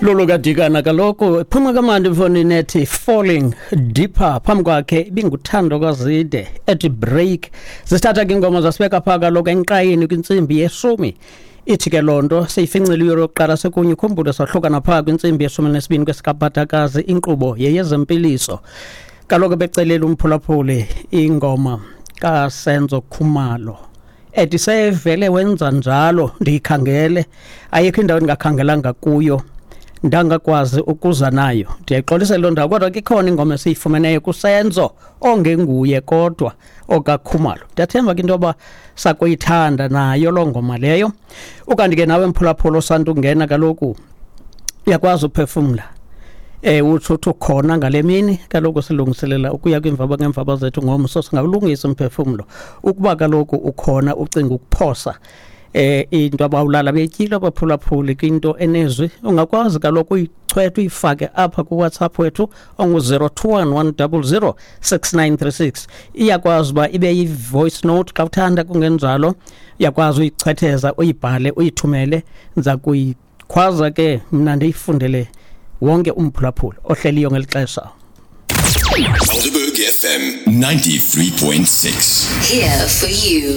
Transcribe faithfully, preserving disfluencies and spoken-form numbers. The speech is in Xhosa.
Lolo kaDikana kaloku phuma kamandi mfondini ethi "Falling Deeper". Phambi kwakhe ibinguThando kaZide ethi "Break". Zisithatha ke ingoma zasibeka phaa kaloku enkqayini kwintsimbi yeshumi. Ithi ke loo nto seyifincile iyure yokuqala sekunye. Ukhumbule sahlukana phaa kwintsimbi yeshumi nesibini kwesikabhatakazi. Inkqubo yeyezempiliso. Kaloku becelela umphulaphuli ingoma kaSenzo Khumalo ethi "Sevele Wenza Njalo". Ndiyikhangele, ayikho indawo endingakhangelanga kuyo, ndangakwazi ukuza nayo. Ndiyayixolisa loo ndawo, kodwa ke ikhona ingoma esiyifumeneyo kuSenzo ongenguye kodwa okaKhumalo. Ndiyathemba ke into yoba sakuyithanda nayo loo ngoma leyo. Ukanti ke nawe mphulaphula osanda ukungena, kaloku uyakwazi uphefumla, eh utsho uthi ukhona ngale mini. Kaloku silungiselela ukuya kwiimvaba ngeemvaba zethu ngomso. Singawulungisa umphefumlo ukuba kaloku ukhona ucinga ukuphosa eh into abawulala betyile abaphulaphuli kwinto enezwi. Ungakwazi kaloku uyichwetha uyifake apha kuWhatsApp wethu ongu-zero two one one double zero six nine three six. Iyakwazi uba ibe yi-voice note xa uthanda, kungenjalo uyakwazi uyichwetheza, uyibhale, uyithumele. Ndiza kuyikhwaza ke mna ndiyifundele wonke umphulaphuli ohleliyo ngeli xesha. Helderberg F M ninety-three point six. Here for you.